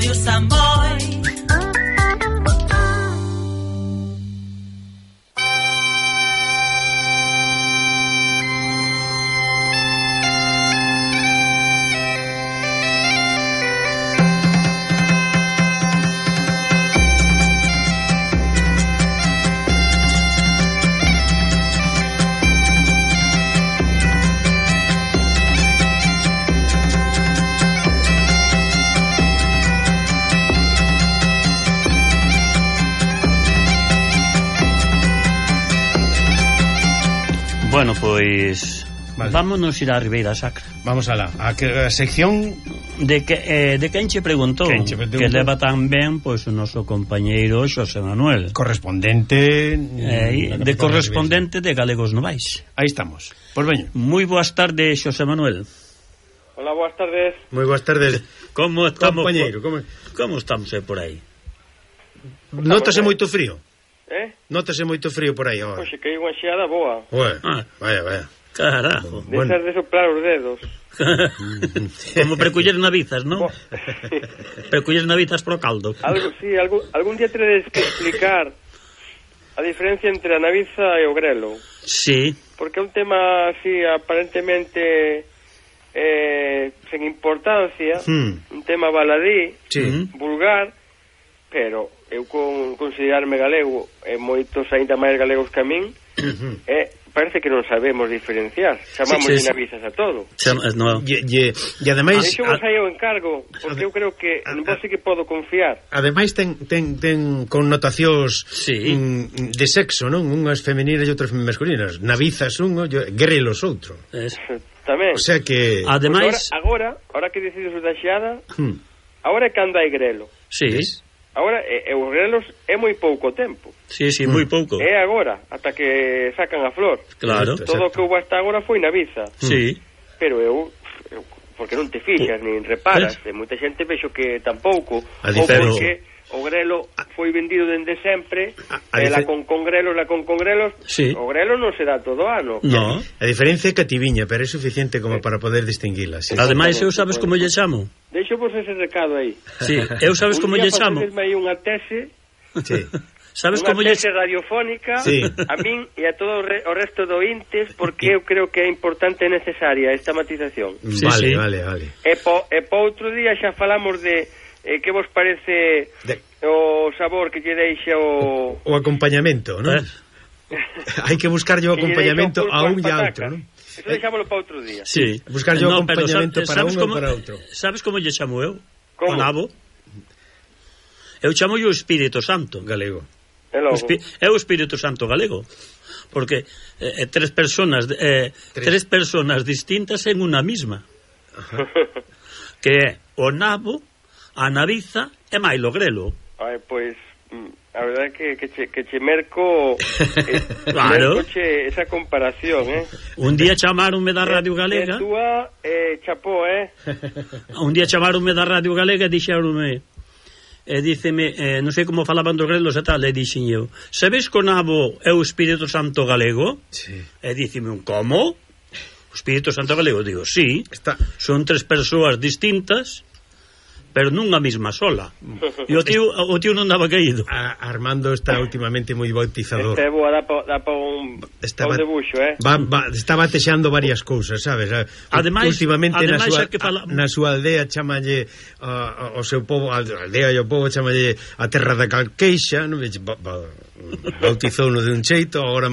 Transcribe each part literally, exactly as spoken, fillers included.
Radio Samboy. Bueno, pois vale. Vámonos ir á Ribeira Sacra. Vamos alá, a, a sección de que eh, de quen che preguntou quen che que leva tan ben pois o noso compañeiro Xosé Manuel, correspondente eh, de correspondente de Galegos Novais. Aí estamos. Pois veño. Moi boas tardes, Xosé Manuel. Hola, boas tardes. Moi boas tardes. Como estamos, compañeiro? Como, como estamos eh, por aí? Nótase moito frío. Eh? Nótase moito frío por aí agora. Pois que hai unha xeada boa. Ué, ah. vaya, vaya. Carajo. De bueno. Ser de soplar os dedos. Como preculler navizas, non? Preculler navizas pro caldo. Algo, sí, algún, algún día teredes que explicar a diferencia entre a naviza e o grelo. Sí. Porque é un tema así aparentemente eh, sen importancia, hmm. un tema baladí, sí. vulgar, pero eu con considerarme galego e moitos aínda máis galegos que a min e parece que non sabemos diferenciar, chamamos sí, sí, navizas a todo. Chama, no. E, e, e ademais Deixo vos aí o encargo, porque eu creo que non vos sí que podo confiar. Ademais ten, ten, ten connotacións sí. mm, de sexo, non? Unhas femeninas e outras masculinas. Navizas un, grelos outro. Es. Tamén. O sea que ademais pues agora, agora, agora que decides o da xeada, hmm. agora é cando hai grelo. Sí. ¿Ves? Agora, e, e os grelos é moi pouco tempo. Sí, sí, moi pouco. É agora, ata que sacan a flor. Claro. Todo o que houve hasta agora foi naviza. Sí. Pero eu, eu porque non te fixas, nin reparas, e moita xente vexo que tampouco, ou porque o grelo foi vendido dende sempre, e la con con grelos, la con con grelos, sí. o grelo non se dá todo ano. No. A diferencia é que tiviña, pero é suficiente como para poder distinguila. Sí. Ademais, eu sabes como lle chamo? Deixo vos ese recado aí. Sí, eu sabes como lle chamo? Un día aí unha tese, sí. Sabes unha como lle tese radiofónica, sí. a min e a todo o, re, o resto do intes, porque eu creo que é importante e necesaria esta matización. Sí, vale, sí. vale, vale. E po, e po outro día xa falamos de eh, que vos parece de... o sabor que lle deixa o... O acompañamento, non? Eh? Hai que buscar o acompañamento a un e a outro, non? Eso deixámoslo para outro día. Sí. Buscar o no, acompañamento para un como, ou para outro. Sabes como lle chamo eu? Como? O nabo? Eu chamo o Espírito Santo galego. É logo. É o Espírito Santo galego. Porque eh, tres personas eh, tres. tres personas distintas en unha mesma. Ajá. Que é o nabo, a naviza e máis o grelo. Ai, pois a verdade é que, que, che, que che merco eh, claro. merco che esa comparación, eh? Un día chamaronme da Radio Galega e túa eh, chapó, eh? Un día chamaronme da Radio Galega e dixeronme e díceme, eh, non sei como falaban dos grelos e tal, e dixen eu, sabes que o nabo é o Espírito Santo galego? Sí. E díceme un, como? O Espírito Santo galego? Digo, sí, está. Son tres persoas distintas pero nunha mesma sola. E o tío, o tío non daba caído. A, Armando está últimamente moi bautizador. Este boa dá pa, pa un, pa un debuxo, eh? Va, va, está batexando varias cousas, sabes? Ademais, últimamente ademais na, súa, que fala... na súa aldea chamalle uh, o seu povo, a aldea e o povo chamalle a terra da Calqueixa, non? Ba, ba, bautizou no de un xeito, agora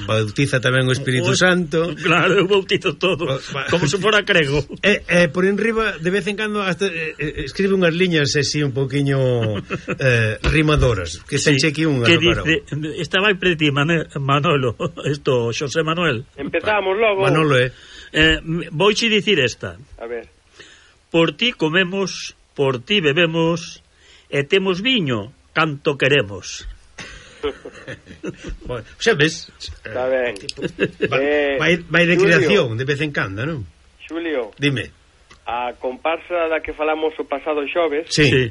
bautiza tamén o Espírito o, Santo. Claro, eu bautizo todo, o, como se fora crego. E eh, eh, por enriba, de vez en cando hasta, eh, eh, escribe unhas liñas así un poquinho eh, rimadoras, que sí, ten aquí unha que dice, estaba aí pre ti, Manolo, esto, Xosé Manuel. Empezamos logo. Manolo, eh. eh Vouche dicir esta. A ver. Por ti comemos, por ti bebemos, e temos viño canto queremos. Bueno, sabes? Está ben. Eh, vai, vai de Julio, creación de vez en cando, non? Julio. Dime. A comparsa da que falamos o pasado xoves. Sí. sí.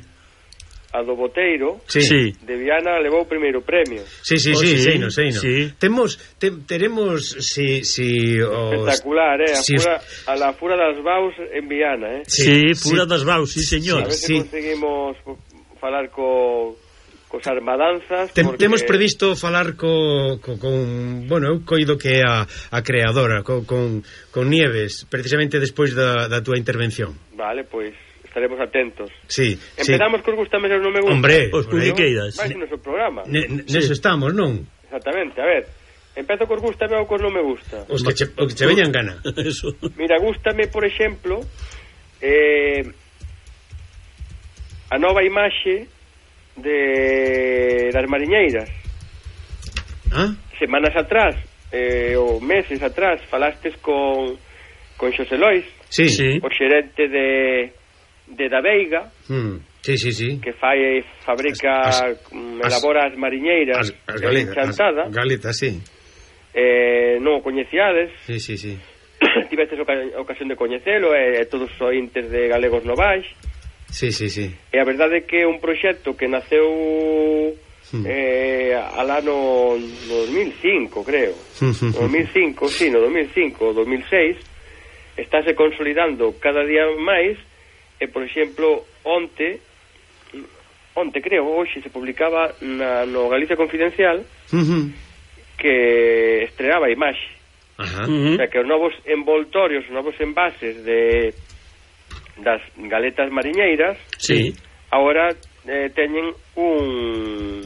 a do Boteiro, sí. Sí. de Viana levou o primeiro premio. Sí, sí, oh, sí, sí, sei no, sei no. Sí. Temos, te, teremos, si... si os, espectacular, eh? A, si fura, a la Fura das Baus en Viana, eh? Sí, sí, Fura sí. das Baus, sí, señor. A ver se sí. conseguimos falar co... cos armadanzas Tem, porque... Temos previsto falar co, co, con, bueno, eu coido que é a, a creadora co, con, con Nieves, precisamente despois da, da túa intervención. Vale, pois estaremos atentos. Sí, empezamos sí. Cos gustame ou non me gusta. Hombre, os publiqueiras. Vai no noso programa. Ne, neso sí. estamos, non? Exactamente, a ver. Empezo cos gustame ou cos non me gusta. Os que che, os que che veñan gana. Eso. Mira, gústame, por exemplo, eh, a nova imaxe de das mariñeiras. Ah? Semanas atrás, eh, ou meses atrás, falastes con con Xosé Lois, sí. Sí. o xerente de de da Veiga, mm. sí, sí, sí. que fai fabrica, as, as, elabora as mariñeiras, as, as galetas, Enchantada. As galetas, sí. Eh, non o coñeciades. Sí, sí, sí. Tivestes ocasión de coñecelo, e eh, todos os ointes de Galegos Novais. Sí, sí, sí. E a verdade é que é un proxecto que naceu hmm. eh, al ano dos mil cinco, creo. No dos mil cinco, sí, no dos mil cinco, dos mil seis, estáse consolidando cada día máis, e, por exemplo, onte, onte creo, hoxe se publicaba na, no Galicia Confidencial que estrenaba a imaxe. Ajá. O sea, que os novos envoltorios, os novos envases de das galetas mariñeiras, sí. Agora eh, teñen un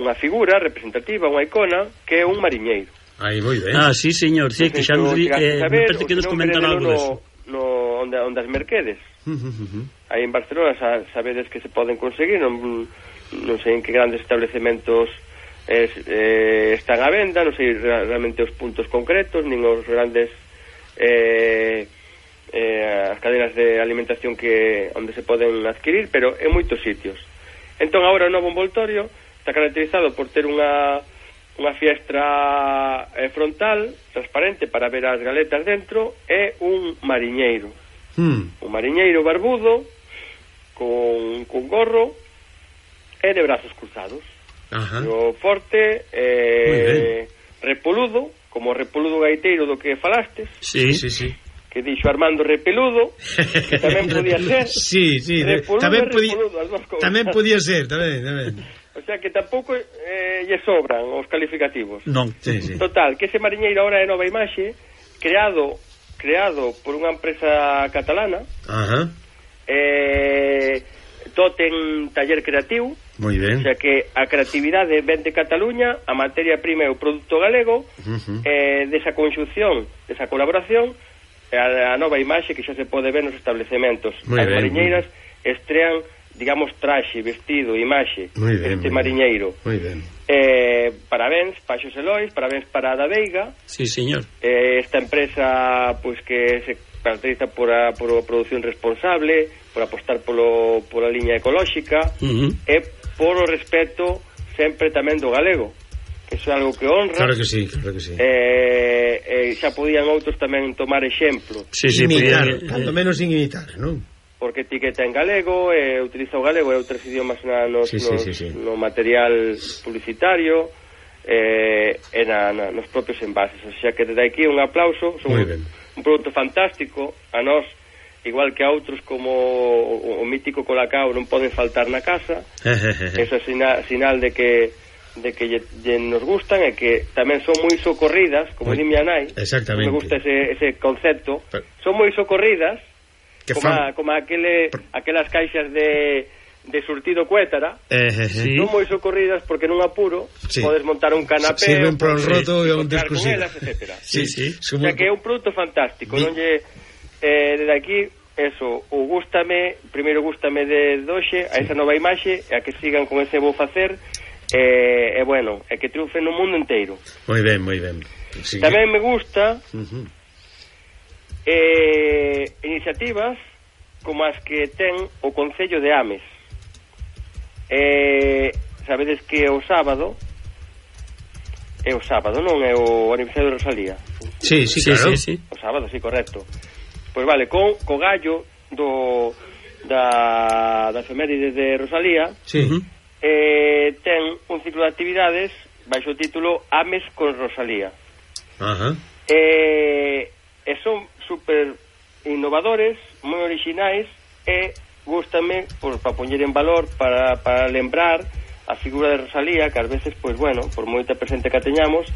unha figura representativa, unha icona, que é un mariñeiro. Aí, moi ben. Ah, sí, señor, sí, no que xa nos di, eh, me parece que nos comentan algo no, deso. No, onde, onde as Merquedes. Uh -huh. Aí en Barcelona sa, sabedes que se poden conseguir, non, non sei en que grandes establecementos eh, eh, están á venda, non sei realmente os puntos concretos, nin os grandes... Eh, eh, as cadenas de alimentación que onde se poden adquirir, pero en moitos sitios. Entón agora o novo envoltorio está caracterizado por ter unha unha fiestra eh, frontal transparente para ver as galetas dentro, e un mariñeiro hmm. un mariñeiro barbudo con, con gorro e de brazos cruzados. Ajá. O forte eh, repoludo, como o repoludo gaiteiro do que falastes. Sí, sí, sí. Que dixo Armando Repeludo, que tamén podía ser. Sí, sí, Repoludo tamén podía, Repoludo, tamén podía ser, tamén, tamén. O sea que tampouco eh, lle sobran os calificativos. Non, sí, sí. Total, que ese mariñeiro ahora é nova imaxe, creado creado por unha empresa catalana. Ajá. Eh, Totem Taller Creativo. Moi ben. O sea que a creatividade ven de Cataluña, a materia prima é o produto galego, uh -huh. eh, desa conxunción, desa colaboración, a, a nova imaxe que xa se pode ver nos establecementos. Muy as ben, mariñeiras estrean, digamos, traxe, vestido, imaxe ben, este mariñeiro. Moi ben. Eh, parabéns para Xosé Lois, parabéns para a da Veiga. Sí, señor. Eh, esta empresa pois pues, que se caracteriza por a, por a produción responsable, por apostar polo, pola liña ecolóxica, uh -huh. e por o respeto sempre tamén do galego. Eso é algo que honra. Claro que sí, claro que sí. Eh, eh, xa podían outros tamén tomar exemplo. Sí, sí, imitar, podían, tanto menos sin imitar, non? Porque etiqueta en galego, eh, utiliza o galego e outros idiomas na, nos, sí, sí, nos, sí, sí. no material publicitario, eh, e na, na, nos propios envases. O sea que desde aquí un aplauso, son un, un produto fantástico, a nós, igual que a outros como o, o mítico Colacao non poden faltar na casa. Eso é sinal, sinal de que de que lle, lle nos gustan, e que tamén son moi socorridas, como di miña nai. Exactamente. Me gusta ese, ese concepto. Pero, son moi socorridas, que como, fan... a, como aquele, aquelas caixas de, de surtido Cuétara. Eh, eh, sí. Son moi socorridas porque nun apuro sí. podes montar un canapé, sirven para un roto e un discusión, etcétera. Sí, sí. O sea que é un produto fantástico. Sí. Non lle, eh, desde aquí, eso, o gústame, primeiro gústame de doxe, a esa nova imaxe, e a que sigan con ese bo facer. E eh, eh, bueno, é que triunfen no mundo inteiro. Moi ben, moi ben. Sí, tamén que... me gusta uh -huh. eh, iniciativas como as que ten o Concello de Ames. Eh, sabedes que o sábado é o sábado, non é o aniversario de Rosalía. Sí, sí, claro. Sí, sí, sí. O sábado, sí, correcto. Pois vale, con co gallo do da, da efeméride de Rosalía, sí. eh, ten un ciclo de actividades baixo o título Ames con Rosalía. Ajá. Eh, e son super innovadores, moi orixinais, e gústame por, para poñer en valor, para, para lembrar a figura de Rosalía, que ás veces, pois bueno, por moita presente que a teñamos,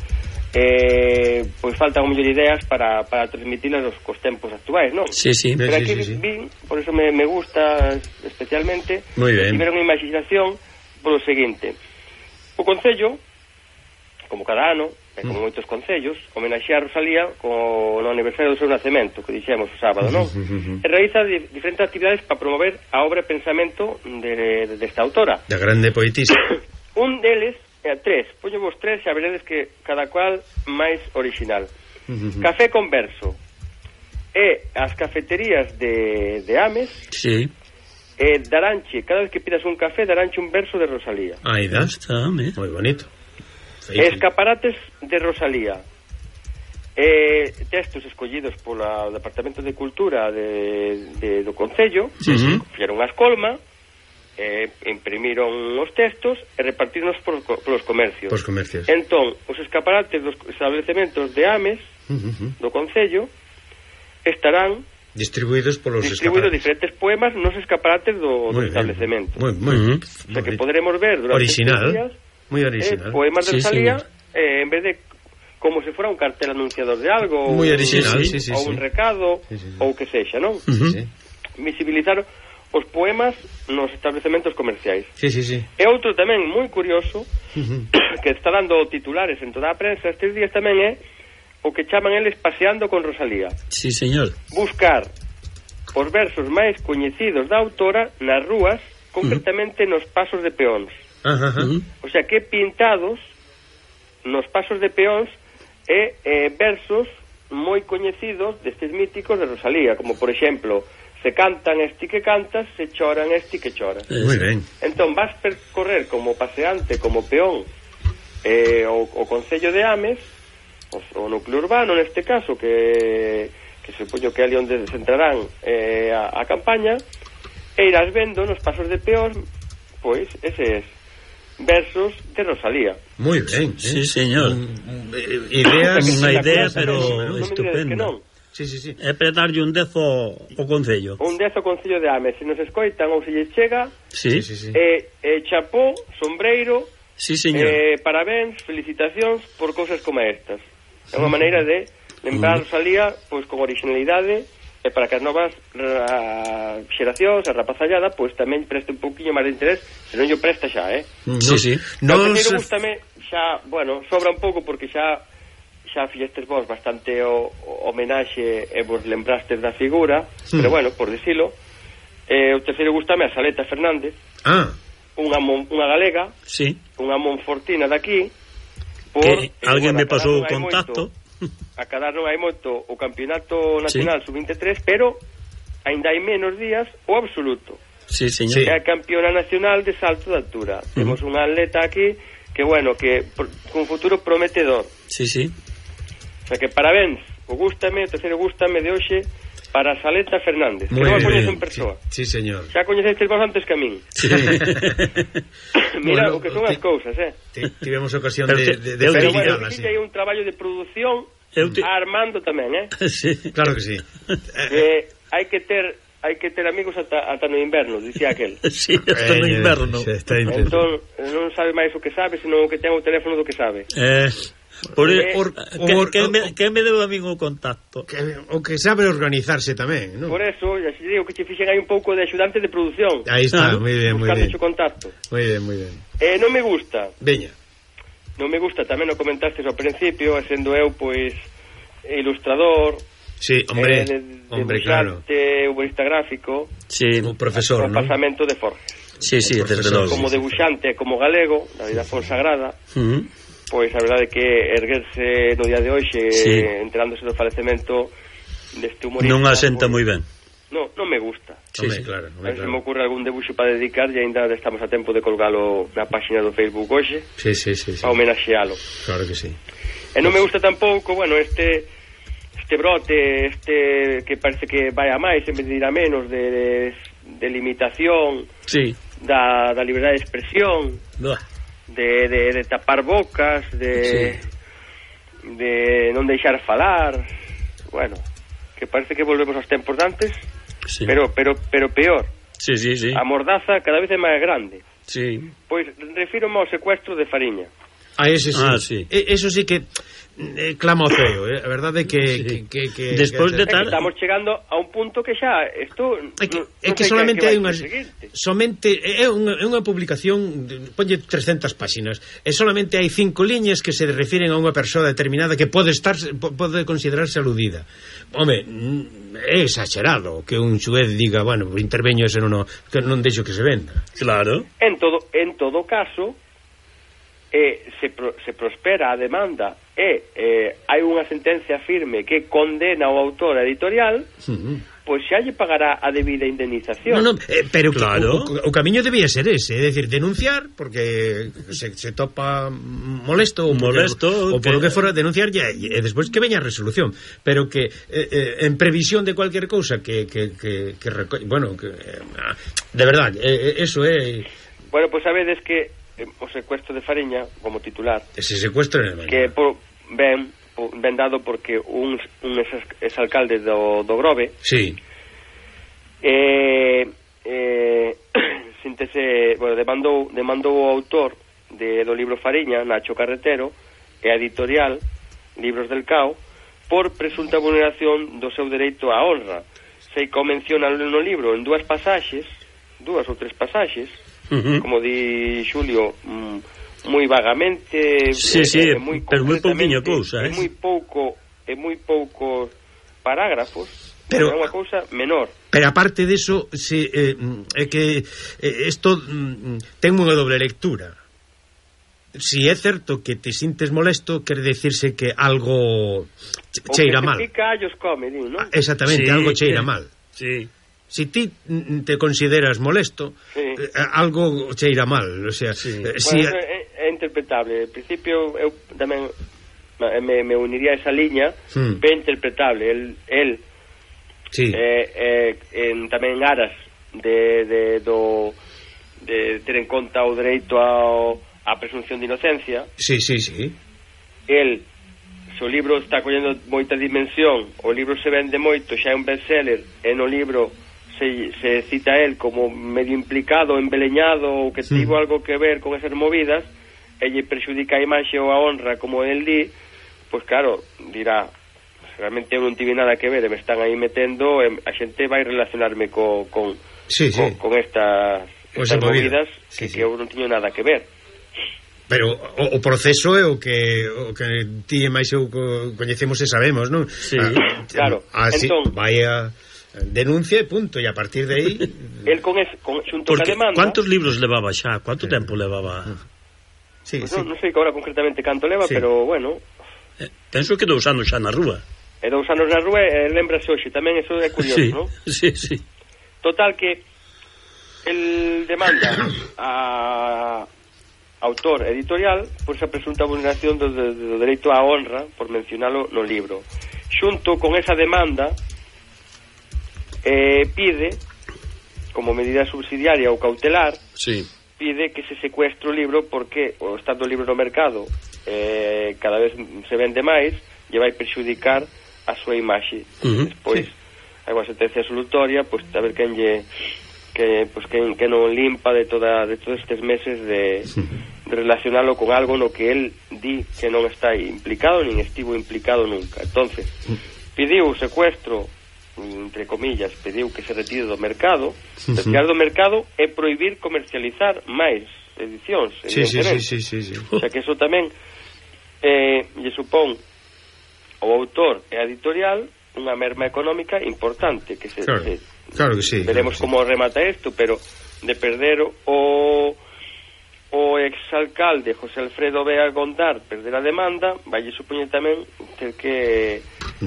eh, pois faltan mellor ideas para, para transmitilas os cos tempos actuais, non? Sí, sí. Pero aquí sí, sí, sí. vin, por eso me, me gusta especialmente, que tiveron imaginación polo seguinte: o Concello, como cada ano, e como mm. moitos concellos, homenaxea a Rosalía co, no aniversario do seu nacemento, que dixemos o sábado, non? E realiza di, diferentes actividades para promover a obra e pensamento de, de, desta autora. Da grande poetisa. Un deles, e tres, poño vos tres, xa veredes que cada cual máis original. Café con verso. E as cafeterías de, de Ames, sí. E daranche, cada vez que pidas un café, daranche un verso de Rosalía. Aí da, está, moi bonito. Escaparates de Rosalía. Eh, textos escollidos polo Departamento de Cultura de, de, do Concello, sí, sí. Fixeron a escolma, eh, imprimiron os textos e repartironos por, polos comercios. Por comercios. Entón, os escaparates dos establecementos de Ames, uh -huh. do Concello, estarán distribuídos polos distribuídos diferentes poemas nos escaparates do, do establecemento. Moi, moi, uh -huh. O sea que poderemos ver durante original. días Muy original. Eh, poemas de sí, Rosalía, eh, en vez de como se fuera un cartel anunciador de algo, muy original, sí, sí, sí, ou sí. un recado, sí, sí, sí. ou que sexa, non? Uh -huh. sí. Visibilizar os poemas nos establecementos comerciais. Sí, sí, sí. E outro tamén moi curioso, uh -huh. que está dando titulares en toda a prensa estes días tamén é o que chaman eles paseando con Rosalía. Sí, señor. Buscar os versos máis coñecidos da autora nas rúas, concretamente uh -huh. nos pasos de peóns. Ajá, ajá. O sea, que pintados nos pasos de peóns e eh, versos moi coñecidos destes míticos de Rosalía, como por exemplo, se cantan esti que cantas, se choran esti que chora. Moi ben. Entón vas percorrer como paseante, como peón, eh, o, o Concello de Ames, o, o núcleo urbano neste caso, que, que se supoño que ali onde se entrarán eh, a, a campaña, e irás vendo nos pasos de peóns, pois, eses versos de Rosalía. Moi ben, sí, eh? señor. Um, idea, unha idea, pero no estupenda. Sí, sí, sí. É para darlle un dezo ao Concello. Un dezo ao Concello de Ames. Se nos escoitan ou se lle chega, sí, sí, sí. Eh, eh, chapó, sombreiro, sí, señor. Eh, parabéns, felicitacións por cousas como estas. É unha maneira de lembrar a Rosalía pois con originalidade, e para que as novas ra, xeracións, a rapazallada, pois tamén preste un pouquiño máis de interés, se non yo presta xa, eh? No, sí, sí. No, no se... gústame xa, bueno, sobra un pouco porque xa xa fixestes vos bastante o, o homenaxe e vos lembrastes da figura, sí. Pero bueno, por dicilo, eh, o terceiro gústame a Saleta Fernández, ah. unha, mon, unha galega, sí. Unha monfortina daqui, por, que eh, alguén bueno, me pasou o contacto. Moito, a cadar non hai moito o Campeonato Nacional sí. sub veintitrés, pero ainda hai menos días o absoluto. Sí, señor. É a campeona nacional de salto de altura. Uh -huh. Temos unha atleta aquí que, bueno, que con futuro prometedor. Sí, sí. O sea que parabéns, o gústame, o terceiro gústame de hoxe para Saleta Fernández, muy que non a coñezo en persoa. Sí, sí, señor. Xa coñecestes vos antes que a min. Sí. Mira bueno, o que son as cousas, eh. Tivemos ocasión pero de, te, de, de pero bueno, sí. hai un traballo de produción te... a Armando tamén, eh. Sí. Claro que sí. Que hai que ter hai que ter amigos ata, ata no inverno, dicía aquel. Sí, hasta no inverno. Eh, entón, non sabe máis o que sabe, senón o que ten o teléfono do que sabe. Eh... Por, eh, or, que, or, que, me, que me debo a mí o contacto que, o que sabe organizarse tamén, ¿no? Por eso, ya se digo que che fixen aí un pouco de axudante de produción. Aí está, ah, moi ben, moi ben. Buscando contacto. Moi ben, moi ben. Eh, non me gusta. Veña. Non me gusta, tamén o comentaste ao principio, sendo eu, pois, ilustrador. Sí, hombre, eh, de, hombre, claro. Humorista gráfico. Sí, un profesor, ¿no? pasamento de Forges. Sí, sí, desde logo. Como debuxante, como galego, da vida fonsagrada. Uh -huh. Pois a verdade é que erguerse no día de hoxe, sí. Enterándose do falecemento deste humorista, non asenta pues, moi ben. Non, non me gusta. Sí, sí, claro, a ver se me ocurre algún debuxo para dedicar e ainda estamos a tempo de colgalo na página do Facebook hoxe. Sí, sí, sí, sí. Para homenaxealo. Claro que sí. E non me gusta tampouco, bueno, este este brote, este que parece que vai a máis en vez de ir a menos de, de de limitación sí. da, da liberdade de expresión, de, de, de tapar bocas, de, sí. de non deixar falar, bueno, que parece que volvemos aos tempos dantes, sí. pero, pero, pero peor. Sí, sí, sí. A mordaza cada vez é máis grande. Sí. Pois refírome ao secuestro de Fariña. Ah, ese sí. Ah, sí. E, eso sí que eh, clama o ceo, eh? A verdade que, sí. que, que, que despois que, de tal... estamos chegando a un punto que xa isto é que, no, é no que solamente hai unha somente é unha, é unha publicación, ponlle trescentas páxinas, e solamente hai cinco liñas que se refiren a unha persoa determinada que pode estar pode considerarse aludida. Home, é exagerado que un xuez diga, bueno, interveño ese non, que non deixo que se venda. Claro. En todo en todo caso eh, se, pro, se prospera a demanda e eh, hai unha sentencia firme que condena ao autor editorial, uh-huh. pois xa lle pagará a debida indemnización. No, no, eh, pero claro. que, o, o, o camiño debía ser ese, é dicir, denunciar porque se, se topa molesto ou molesto o por lo que fora, denunciar ya, e despois que veña a resolución, pero que eh, eh, en previsión de cualquier cousa que, que, que, que reco... bueno, que, eh, de verdade, eh, eso é... Bueno, pois sabedes que o secuestro de Fariña como titular ese secuestro en el que por, ben, por, ben dado porque un, un exalcalde do, do Grove sí. eh, eh, síntese, bueno, demandou, demandou o autor de, do libro Fariña, Nacho Carretero, e a editorial Libros del Cao por presunta vulneración do seu dereito á honra. Se menciona no libro en dúas pasaxes, dúas ou tres pasaxes, uh-huh. como di Xulio, mm, moi vagamente, sí, eh, sí, eh, moi pero moi pouquiña cousa, é eh? moi pouco, é moi poucos parágrafos, pero é unha cousa menor. Pero aparte deso, se eh, é que isto eh, ten unha doble lectura. Si é certo que te sintes molesto, quere decirse que algo cheira mal. O que se pica allos come, di, non? Exactamente, sí, algo cheira eh, mal. Sí. Si ti te consideras molesto, sí. eh, algo cheira mal, o sea, sí. eh, bueno, si é, é interpretable. En principio eu tamén me, me uniría a esa liña, hmm. ben interpretable. El, el sí. eh, eh, en, tamén en aras de, de, do, de ter en conta o dereito ao, a presunción de inocencia. Sí, sí, sí. El, se o libro está collendo moita dimensión, o libro se vende moito, xa é un bestseller, e no libro Se, se cita a él como medio implicado, embeleñado ou que sí. tivo algo que ver con esas movidas e lle perxudica a imaxe ou a honra como el di, pois claro, dirá realmente eu non tive nada que ver e me están aí metendo e a xente vai relacionarme co, con, sí, sí. con, con estas, estas movidas sí, que, sí. que eu non tiño nada que ver. Pero o, o proceso é o que o que ti e máis eu coñecemos e sabemos, non? Sí, ah, claro. Así, entón, vaya denuncia e punto, e a partir de aí el con ese, con, xunto porque ca demanda, ¿cuántos libros levaba xa? ¿Cuánto sí. tempo levaba? Sí, pues sí. Non, non sei agora concretamente canto leva, sí. pero bueno, eh, penso que dous anos xa na rúa. E dous anos na rúa, e lembrase hoxe, tamén eso é curioso, sí, non? Sí, sí. Total que el demanda a autor editorial por esa presunta vulneración do, do, do dereito á honra, por mencionalo no libro. Xunto con esa demanda Eh, pide, como medida subsidiaria ou cautelar, sí. pide que se secuestre o libro porque o estado do libro no mercado eh, cada vez se vende máis, lle vai perxudicar a súa imaxe. Uh-huh. Despois, sí. hai unha sentencia absolutoria, pois a ver quen lle que, pues, quen, que non limpa de toda de todos estes meses de, de relacionalo con algo no que el di que non está implicado, nin estivo implicado nunca. Entonces, pediu o secuestro, entre comillas, pediu que se retire do mercado, uh-huh. retirar do mercado e prohibir comercializar máis edicións, sí, sí, sí, sí, sí, sí. O sea que eso tamén eh, lle supón ao autor e a editorial unha merma económica importante que se, claro, se claro que sí, veremos claro, como sí. remata isto, pero de perder o o exalcalde José Alfredo Vega Gondar perder a demanda, vai supoñer tamén ter que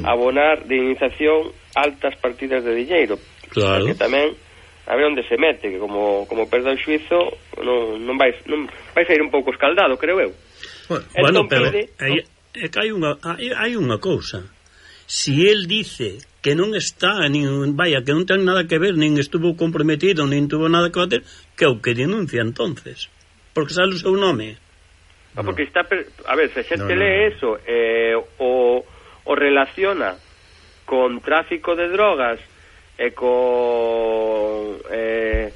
abonar de indemnización altas partidas de diñeiro. Claro. Que tamén a ver onde se mete, que como como perda o xuizo non non vai non vai sair un pouco escaldado, creo eu. Bueno, entón, pero pide, é, é que hai unha hai, hai unha cousa. Si él dice que non está, nin, vaya, que non ten nada que ver, nin estuvo comprometido, nin tuvo nada que ver, que é o que denuncia entonces, porque sale o seu nome. Ah, porque está, per... a ver, se a xente no, no, lee eso eh, o, o relaciona con tráfico de drogas e con eh,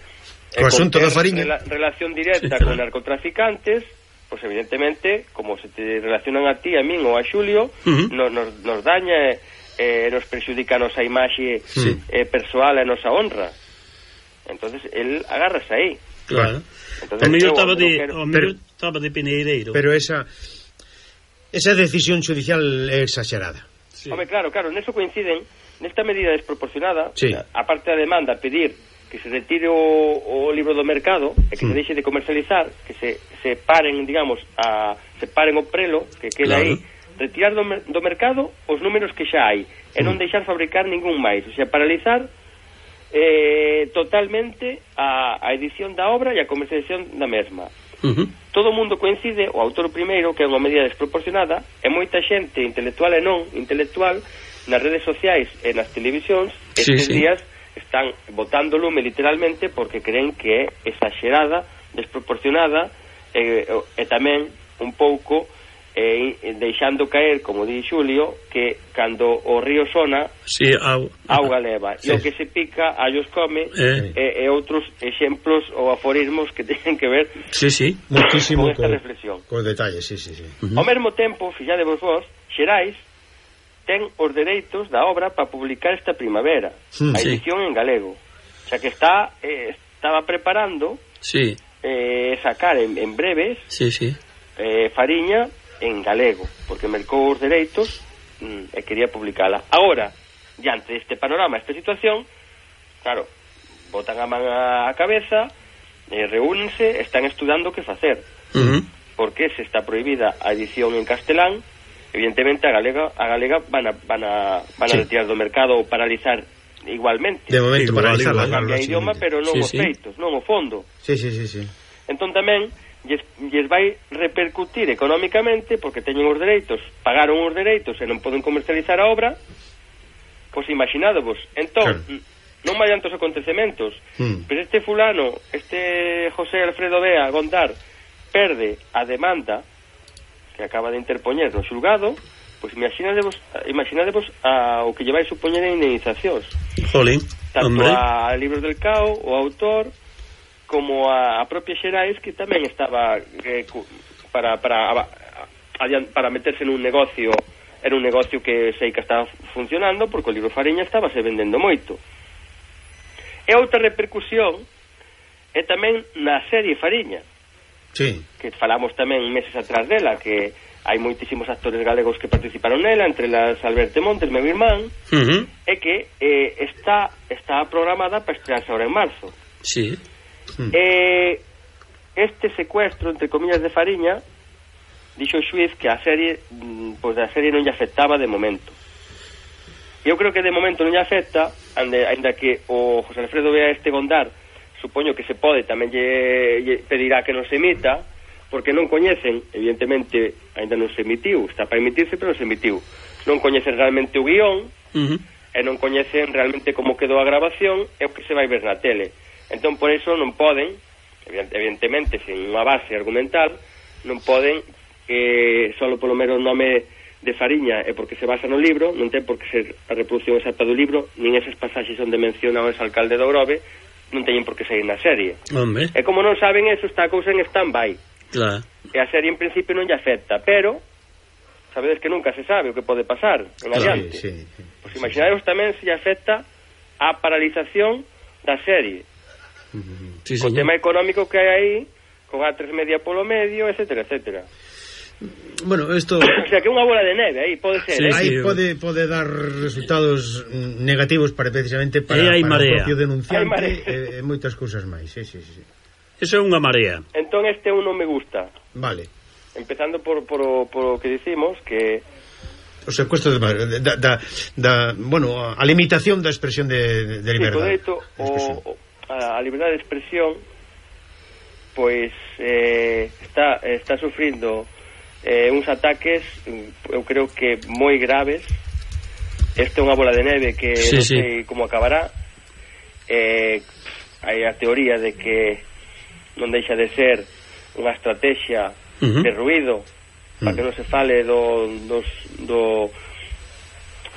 o asunto da Fariña, rela, relación directa sí, con narcotraficantes, pues evidentemente, como se te relacionan a ti, a min ou a Xulio, uh-huh. nos, nos, nos daña eh, nos perxudica a nosa imaxe sí. eh, persoal e a nosa honra. Entonces él agárrase aí. Claro. Entonces, o mellor estaba de quero... o mellor estaba de Pineiro. Pero esa esa decisión judicial é exagerada. Sí. Home, claro, claro, neso coinciden, nesta medida desproporcionada, sí. aparte da demanda pedir que se retire o, o libro do mercado e que mm. se deixe de comercializar, que se, se paren, digamos, a se paren o prelo que queda claro. aí, retirar do, do mercado os números que xa hai e mm. non deixar fabricar ningún máis, o sea, paralizar eh, totalmente a, a edición da obra e a comercialización da mesma. Uh-huh. Todo o mundo coincide, o autor primeiro, que é unha medida desproporcionada, e moita xente intelectual e non intelectual nas redes sociais e nas televisións estes sí, sí. días están botando lume literalmente porque creen que é exagerada, desproporcionada e, e tamén un pouco e deixando caer, como di Xulio, que cando o río sona sí, au, auga leva sí. e o que se pica allos come eh. e, e outros exemplos ou aforismos que teñen que ver sí, sí. muchísimo con esta co, reflexión con detalles, sí, sí, sí. Uh-huh. Ao mesmo tempo, fixadevos vos, Xerais ten os dereitos da obra para publicar esta primavera mm, a edición sí. en galego, xa que está eh, estaba preparando sí. eh, sacar en, en breves sí, sí. Eh, Fariña en galego, porque mercou os dereitos mm, e quería publicala. Agora, diante deste panorama, esta situación, claro, botan a man a cabeza, eh, reúnense, están estudando que facer. Uh-huh. Porque se está prohibida a edición en castelán, evidentemente a galega a galega van a, van a, van a sí. retirar do mercado ou paralizar igualmente. De momento sí, paralizar la cambia idioma, pero non sí, os feitos, sí. non o fondo. Sí, sí, sí, sí. Entón tamén lles, lles vai repercutir económicamente porque teñen os dereitos, pagaron os dereitos e non poden comercializar a obra. Pois imaginádovos. Entón, claro. non vai tantos acontecementos, mm. pero este fulano, este José Alfredo Bea Gondar, perde a demanda que acaba de interpoñer no xulgado, pois imaginádevos, imaginádevos a, o que lle vai supoñer a indemnizacións. Jolín, tanto hombre. A Libros del Cao, o autor, como a, a propia Xerais, que tamén estaba eh, para, para, a, a, para meterse nun negocio, era un negocio que sei que estaba funcionando, porque o libro Fariña estaba se vendendo moito. E outra repercusión é tamén na serie Fariña, sí. que falamos tamén meses atrás dela, que hai moitísimos actores galegos que participaron nela, entre las Alberto Montes, meu irmán, uh-huh. e que eh, está, está programada para estrearse ahora en marzo. Sí. Hmm. Eh, este secuestro, entre comillas, de Fariña, dixo o xuiz que a serie, pois a serie non lle afectaba de momento. Eu creo que de momento non lle afecta, ande, ainda que o José Alfredo Bea este Gondar, supoño que se pode, tamén lle, lle pedirá que non se emita, porque non coñecen, evidentemente, ainda non se emitiu, está para emitirse, pero non se emitiu. Non coñecen realmente o guión, uh-huh. e non coñecen realmente como quedou a grabación, e o que se vai ver na tele. Entón, por eso non poden, evidentemente, sin unha base argumental, non poden, eh, solo polo mero nome de Fariña e porque se basa no libro, non ten por que ser a reproducción exacta do libro, nin esas pasaxes onde menciona o exalcalde do Grove, non teñen por que sair na serie. Hombre. E como non saben eso, está a cousa en stand-by. Claro. E a serie en principio non lle afecta, pero sabedes que nunca se sabe o que pode pasar en adiante. Sí, sí, sí. Pois imaginadevos tamén se lle afecta a paralización da serie. Sí, co tema económico que hai aí, con A tres Media polo medio, etcétera, etcétera. Bueno, esto... O sea, que unha bola de neve aí pode ser, sí, eh? Aí sí, pode, pode dar resultados negativos para precisamente para, para o propio denunciante e, e moitas cousas máis. Sí, sí, sí. Eso é unha marea. Entón este un non me gusta. Vale. Empezando por, por, por o que dicimos, que... O secuestro de, da, da, da, bueno, a limitación da expresión de, de liberdade. Sí, o, o, a, a liberdade de expresión pois eh, está, está sufrindo eh, uns ataques, eu creo que moi graves, esta é unha bola de neve que sí, non sí. sei como acabará. Eh, hai a teoría de que non deixa de ser unha estrategia uh-huh. de ruido uh-huh. para que non se fale do, dos, do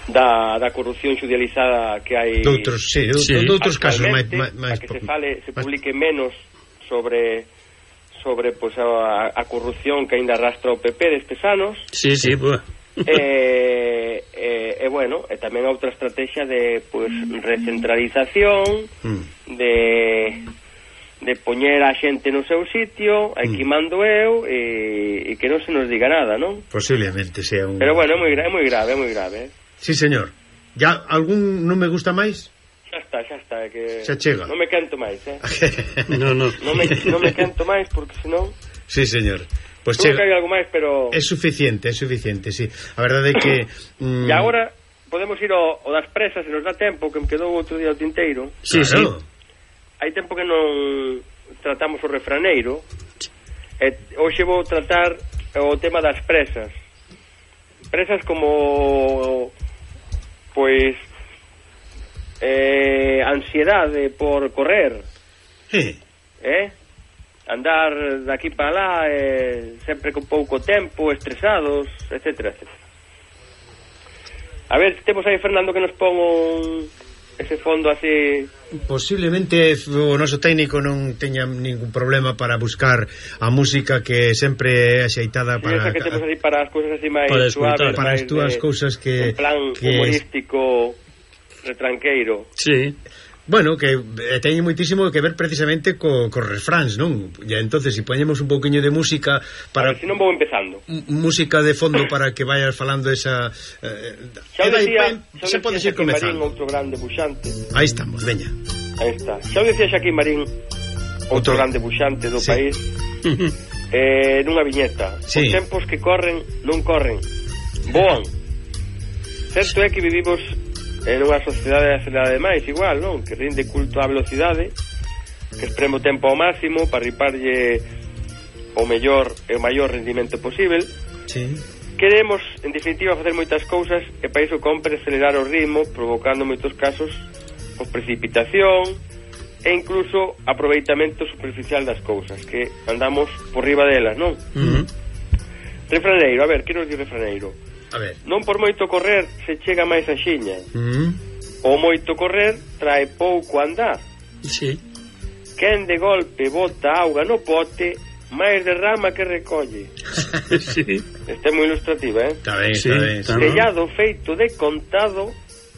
da, da corrupción xudializada que hai doutros, sí, sí. doutros casos máis, máis, para que se fale, se publique menos sobre sobre pues, a, a corrupción que ainda arrastra o P P destes anos. Sí, sí, pues. e, e, e bueno, e tamén outra estrategia de pues recentralización mm. de de poñer a xente no seu sitio, aquí mm. mando eu e, e que non se nos diga nada, non? Posiblemente sea un... Pero bueno, é moi, é moi grave, é moi grave, eh? Sí, señor. Ya algún non me gusta máis? Xa está, xa está, é que xa chega. Non me canto máis, eh? no, no. Non me, non me canto máis porque senón... Sí, señor. Pues chega, que hai algo máis, pero... É suficiente, é suficiente, sí. A verdade é que... Mm... E agora podemos ir ao, ao das presas, se nos dá tempo, que me quedou outro día o tinteiro. Sí, claro. Sí. Hai tempo que non tratamos o refraneiro. E hoxe vou tratar o tema das presas. Presas como... Pois... Eh, ansiedade por correr. Sí. Eh? Andar daqui para lá eh, sempre con pouco tempo, estresados, etcétera, etcétera. A ver, temos aí Fernando que nos pon un, ese fondo así. Posiblemente o noso técnico non teña ningún problema para buscar a música que sempre é axeitada sí, para... Esa que temos así para as cousas así máis para suaves, para as túas cousas que... En plan que humorístico, retranqueiro. Sí. Bueno, que eh, teñe moitísimo que ver precisamente co, co refráns, non? E entonces, se si poñemos un pouquiño de música para... A ver, se si non vou empezando. Música de fondo para que vayas falando esa... Eh, xa o decía, xa podes ir comezando. Marín, outro grande buxante. Aí estamos, veña. Aí está. Xa o decía Xaquín Marín, outro, outro grande buxante do sí. país, eh, nunha viñeta. Sí. Os tempos que corren, non corren, voan. Certo é que vivimos... en unha sociedade acelerada demais, igual, non? Que rinde culto á velocidade, que espreme o tempo ao máximo para riparlle o mellor e o maior rendimento posible. Sí. Queremos, en definitiva, facer moitas cousas e para iso compre acelerar o ritmo, provocando moitos casos por precipitación e incluso aproveitamento superficial das cousas, que andamos por riba delas, non? Uh-huh. Refraneiro, a ver, que nos di refraneiro? A ver. Non por moito correr se chega máis a xiña. Mm. O moito correr trae pouco andar. Sí. Quen de golpe bota auga no pote, máis derrama que recolle. Sí. Esta é moi ilustrativa, eh? Está ben, sí, está ben. Está Tellado feito de contado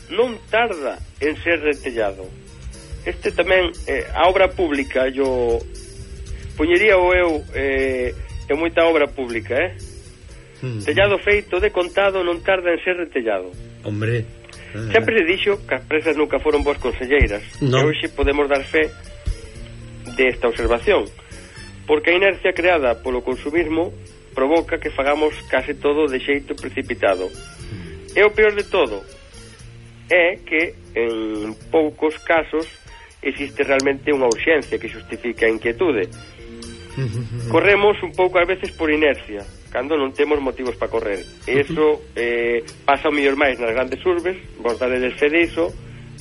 non tarda en ser retellado. Este tamén, eh, a obra pública, yo poñería o eu eh, en moita obra pública, eh? Mm. Tellado feito de contado non tarda en ser retellado. Hombre, ah, sempre se dixo que as presas nunca foron boas conselleiras. No. E hoxe podemos dar fe desta observación, porque a inercia creada polo consumismo provoca que fagamos case todo de xeito precipitado. Mm. E o peor de todo é que en poucos casos existe realmente unha urxencia que justifica a inquietude. Corremos un pouco ás veces por inercia, cando non temos motivos para correr. E iso eh, pasa o mellor máis nas grandes urbes, vos daredes fe diso,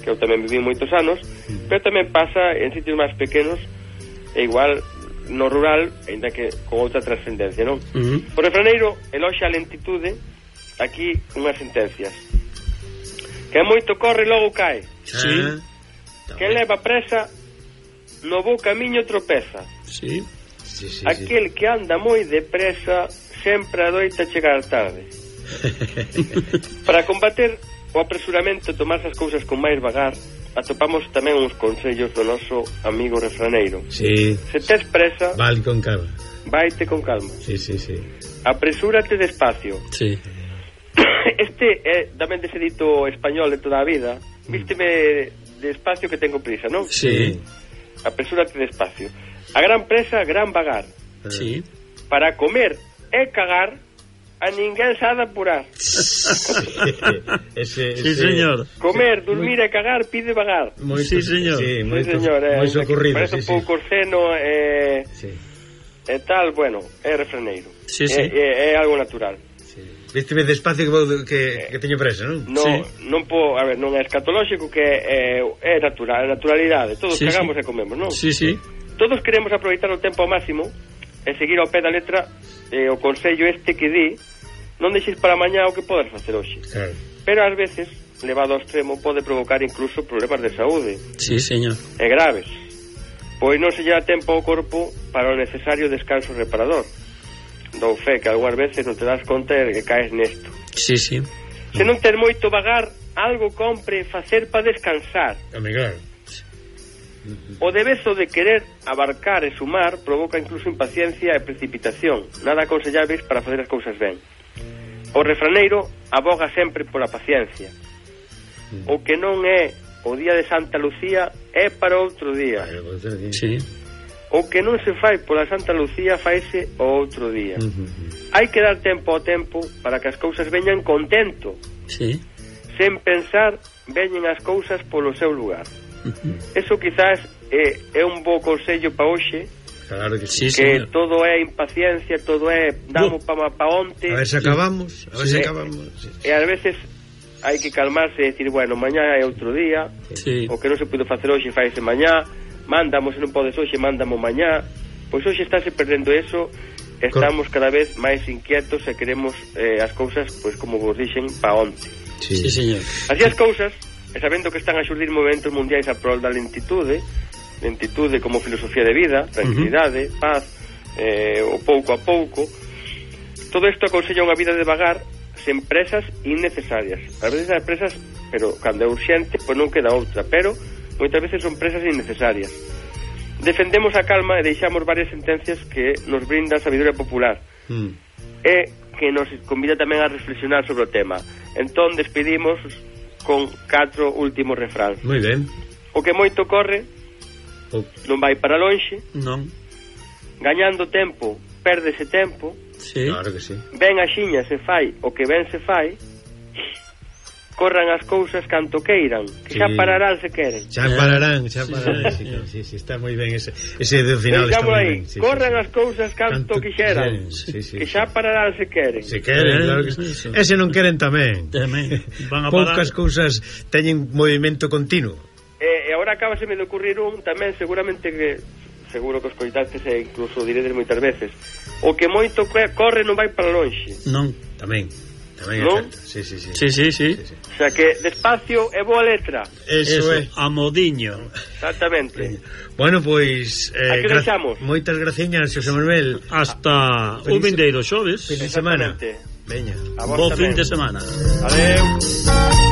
que eu tamén viví moitos anos, pero tamén pasa en sitios máis pequenos e igual no rural, ainda que con outra trascendencia, non? Uh-huh. Por refraneiro, eloxa a lentitude, aquí unhas sentencias. Que moito corre logo cae. Sí. Que leva presa no bo camiño tropeza. Sí. Sí, sí, aquel sí. que anda moi depresa sempre adoita chegar tarde. Para combater o apresuramento e tomar as cousas con máis vagar, atopamos tamén uns consellos do noso amigo refraneiro. Sí. Se tes presa, vale con calma. Vaite con calma. Sí, sí, sí. Apresúrate despacio. Sí. Este é tamén dese dito español de toda a vida. Vísteme despacio que tengo prisa, non? Sí. Apresúrate despacio. A gran presa, gran vagar. Sí. Para comer e cagar, a ninguén se ha de apurar. ese, ese... Sí, señor. Comer, dormir e cagar pide vagar. Muy, sí, señor. Sí, muy, sí, señor. Eh, moi socorrido. Parece sí, un pouco sí. seno e... Eh, sí. E tal, bueno, é refraneiro. Sí, sí. É, é, é algo natural. Sí. Vísteme despacio que, vou, que, que teño presa, non? No, sí. Non po, a ver, non é escatolóxico, que é, é natural, é naturalidade. Todos sí, cagamos sí. e comemos, non? Sí, sí. Todos queremos aproveitar o tempo ao máximo e seguir ao pé da letra eh, o consello este que di non deixes para mañá o que podes facer hoxe. Claro. Pero ás veces, levado ao extremo, pode provocar incluso problemas de saúde. Sí, señor. E graves. Pois non se lleva tempo ao corpo para o necesario descanso reparador. Dou fe que algunhas veces non te das conta de que caes nesto. Sí, sí. Se non ten moito vagar, algo compre facer para descansar. Amigar. O debezo de querer abarcar e sumar provoca incluso impaciencia e precipitación, nada aconselláveis para facer as cousas ben. O refraneiro aboga sempre pola paciencia. O que non é o día de Santa Lucía é para outro día. Sí. O que non se fai pola Santa Lucía faise o outro día. Hai que dar tempo ao tempo para que as cousas veñan contento. Sí. Sen pensar, veñen as cousas polo seu lugar. Uh-huh. Eso quizás é, é un bo consello pa hoxe. Claro que sí, que señor. Todo é impaciencia, todo é damos uh. pa, pa onte. A ver se acabamos, a ver se sí. acabamos. Sí. E ás veces hai que calmarse e decir, bueno, mañá é outro día. Sí. O que non se pudo facer hoxe faise mañá. Mándamos, se non podes hoxe, mándamo mañá. Pois hoxe estáse perdendo eso. Estamos cada vez máis inquietos e queremos eh, as cousas, pois como vos dixen, pa onte. Sí, sí, señor. Así as cousas, e sabendo que están a xurdir movimentos mundiais a prol da lentitude, lentitude como filosofía de vida, tranquilidade, uh-huh. paz, eh, o pouco a pouco, todo isto aconsella unha vida de vagar sen presas innecesarias. A veces as presas, pero cando é urxente, pois non queda outra, pero moitas veces son presas innecesarias. Defendemos a calma e deixamos varias sentencias que nos brinda a sabiduría popular mm. e que nos convida tamén a reflexionar sobre o tema. Entón despedimos con catro últimos refráns. Moi ben. O que moito corre o... non vai para lonxe. Non. Gañando tempo, pérdese tempo. Sí. Claro que sí. Ben axiña se fai o que ben se fai. Corran as cousas canto queiran, que sí. xa pararán se queren. Xa pararán, xa pararán. Sí, sí, sí, sí, está moi ben ese, ese do final está moi ben. Sí, corran sí, as cousas canto, canto quixeran, sí, sí, que xa pararán se queren. Se queren, claro que sí. Sí. Ese non queren tamén. Tamén. Van a poucas cousas teñen movimento continuo. E, e agora acabaseme de ocurrir un tamén, seguramente que seguro que os coitastes e incluso diredes moitas veces. O que moito corre non vai para lonxe. Non, tamén. Tamén ¿no? É sí, sí, sí. Sí, sí, sí. sí, sí. O sea que despacio é boa letra. Eso, Eso é. A modiño. Exactamente. Bueno, pois eh, gra moitas graciñas, Xosé Manuel. Hasta o vindeiro xoves. Fin de semana. Veña. Bo fin de semana. Adeu.